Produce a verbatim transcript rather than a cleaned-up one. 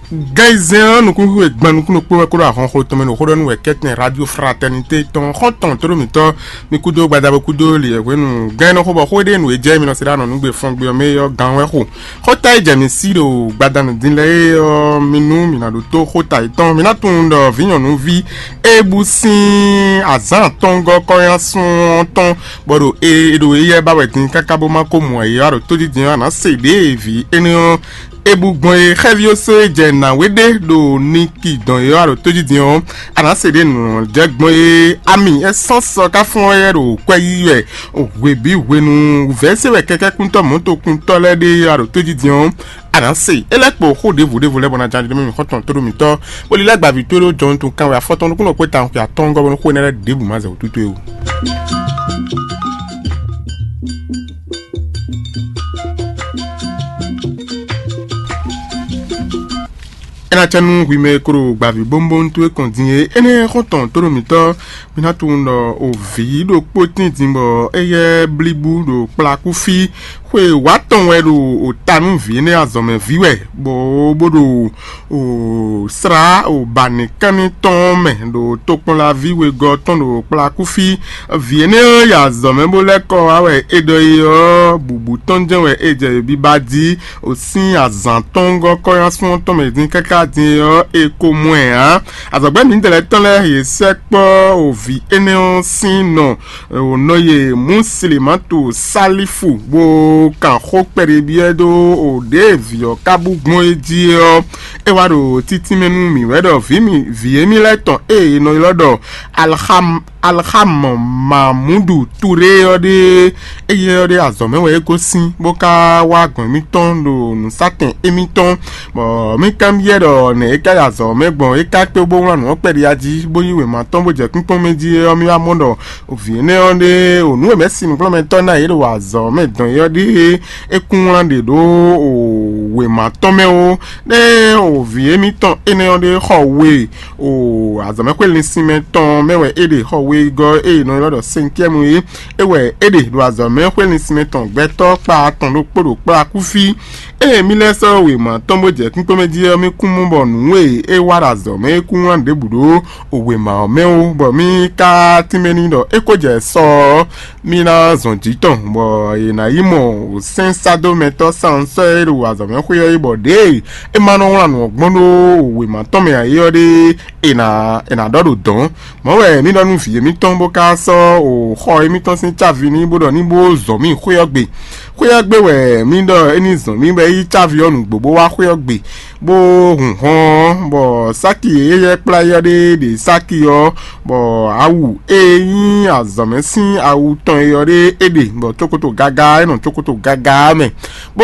Gɛnzɛn ɔ́, nukúnxwe gban nukúnnú kpó wɛ kó ɖo ahɔnxo tɔn mɛ ɖo xó ɖɔ nú wɛ kɛ́tɛn Radio Fraternité tɔn xɔ́ntɔn tó ɖo mǐtɔn. Mi kúdó gbadabo kúdó li wɛ hwenu gɛn nɔ xó bɔ xó ɖé nǔ e jɛ mi nɔ se ɖo anɔ nǔgbe fɔngbe ɔ́ mɛ ɔ́ gán wɛ xo. Xóta e jɛ mi sí ɖo gbadanu din lɛ́ɛ é ɔ́, mi nú mi ná ɖótó xóta yětɔn. Mi ná tunwun ɖɔ vǐ nyɔ̌nuví e bú sín azǎn atɔ́ngɔ́ kɔ́nyá sún ɔ́ tɔn bɔ ɖo e ɖo éyɛ́ ba wɛ din káká bó má ko mɔ ayǐ ɔ́, ɖo tódídin ɔ́, a nǎ se ɖěe vǐ énɛ́ ɔ́ é bú gbɔn é. Xɛ́ví ɔ́ sɔ́ é jɛ nǎwe ɖé ɖo niki dɔn é ɔ́, ɖo tójijɛ ɔ́, a nǎ se ɖě nǔ jɛ gbɔn é. Ami é sɔ́ sɔ ká fɔ́n é ɖo kwɛ yí wɛ hwe bǐ hwenu. Vɛ̌ se wɛ kɛkɛ́kúntɔ́ mɔ̌tokuntɔ́ lɛ́ɛ ɖe é ɔ́, ɖo tójijɛ ɔ́, a nǎ se. É lɛ́ kpo xó ɖěvo ɖěvo lɛ́ɛ bɔ ná ján ɖi mɛ xɔ́ntɔn tó ɖo mǐtɔn, bó lílɛ́ gbaví tó ɖó jɔnnu tɔn kan wɛ afɔtɔn nukúnnɔ kpé tawun xwe atɔ́ngɔ́ bɔ nú xó énɛ́ lɛ́ɛ ɖěbǔ má zɛ wǔtútú é o. É ná cɛ nú hwi mɛ e klo gbaví bónbón towe kɔn din é. Énɛ́ xɔ́ntɔn tóɖo mǐtɔn, mi ná tunwun ɖɔ o vǐ ɖokpó tín din bɔ éyɛ́ blíbú ɖo kplakúfí. Xwe wǎ tɔn wɛ ɖo o ta nú vǐ énɛ́ azɔ̌mɛví wɛ, bɔ bó ɖo o slá o ba nǐkánní tɔn mɛ ɖo tokpɔnlaví wegɔ́ tɔn ɖo kplakúfí. Vǐ énɛ́ ɔ́ yi azɔ̌ mɛ bó lɛ́ kɔ wá wɛ é ɖɔ é ɔ́, bǔbú tɔn jɛ́n wɛ é jɛ biba jí. O sín azǎn tɔn gɔ́ kɔ́nyásún ɔ́ tɔn mɛ dín káká din é ɔ́, è ko mɔ ɛ ǎ. Azɔ̌gbɛ́ mǐdɛɛ lɛ́ɛ tɔn lɛ́ɛ yě sɛkpɔ́ o vǐ énɛ́ ɔ́ sín nɔ, o nɔ ye Muslimatu Salifu bó kan xó kpɛɖé byɔ́ ɛ dó o ɖěe vǐ ɔ́ ka bú gbɔn é jí é ɔ́, é wá ɖo títínmɛ nú mǐ wɛ ɖɔ vǐ mi vǐ émí lɛ́ɛ tɔn e è nɔ ylɔ́ ɖɔ Alxam Alxam Mamudu Ture ɔ́ ɖe, éyɛ́ ɔ́ ɖe azɔ̌ mɛ wɛ é gosín, bó ka wá gbɔn émítɔn ɖo nǔsatɛn émítɔn, bɔ mí kanbyɔ́ ɖɔ nɛ̌ é ka yi azɔ̌ mɛ gbɔn, é ka kpé bó wlán nǔ ɔ́ kpɛɖé jí, bó yí wěma tɔn bó jɛ kpínkpɔ́n mɛ jí é ɔ́, mí wá mɔ ɖɔ vǐ énɛ́ ɔ́ ɖe, o nǔ e mɛ̌ sin nǔkplɔ́nmɛtɔ́ ná yě ɖo azɔ̌ mɛ dɔn é ɔ́ ɖíe é kún wlán ɖe ɖó o wěma tɔn mɛ ó. Nɛ́ o vǐ émítɔn énɛ́ ɔ́ ɖe xɔ we o azɔ̌mɛxwé linsinmɛ tɔn mɛ wɛ é ɖe xɔ wegɔ́ e è nɔ ylɔ́ ɖɔ sɛntiɛmu é. É wɛ é ɖe ɖo azɔ̌mɛxwé linsinmɛ tɔn gbɛtɔ́ kpa atɔn ɖokpó ɖo kplá kúfí. Ée mí lɛ́ sɔ́ wěma tɔn bó jɛ kúnkpɔ́n mɛ jí ɔ́, mí kún mɔ bɔ nǔ e é wa ɖo azɔ̌ mɛ é kún wlán ɖěbǔ ɖó wěma ɔ́ mɛ ó, bɔ mí ka tínmɛ n'i ɖɔ é ko jɛ sɔ ɔ́, mí ná zɔn jǐ tɔn, bɔ è nǎ yi mɔ sɛ́nsádomɛtɔ́ Sansɔ́ e ɖo azɔ̌mɛxwé ɔ́ yi, bɔ ɖěe é ma nɔ wlán nǔ ɔ́ gbɔn ɖó wěma tɔn mɛ ǎ é ɔ́ ɖe, è nǎ è nǎ ɖɔ ɖo dɔ̌n. Mɔ̌ wɛ mí ɖɔ nú vǐ émítɔn bó ka sɔ́ o xɔ émítɔn sín cávi n'i bó ɖɔ ní bó zɔn mì xwé ɔ́ gbe. Xwé ɔ́ gbe wɛ mí ɖɔ é ní zɔn mì bɔ é yí cávi ɔ́ nǔgbó bó wá xwé ɔ́ gbe, bó hun hɔn ɔ́, bɔ sáki e é yɛ kplá é ɔ́ ɖe ɖe sáki ɔ́, bɔ awu e nyí azɔ̌mɛ sín awu tɔn é ɔ́ ɖe é ɖe, bɔ cókóto gaga é nɔ cókóto gaga ɔ́ mɛ, bó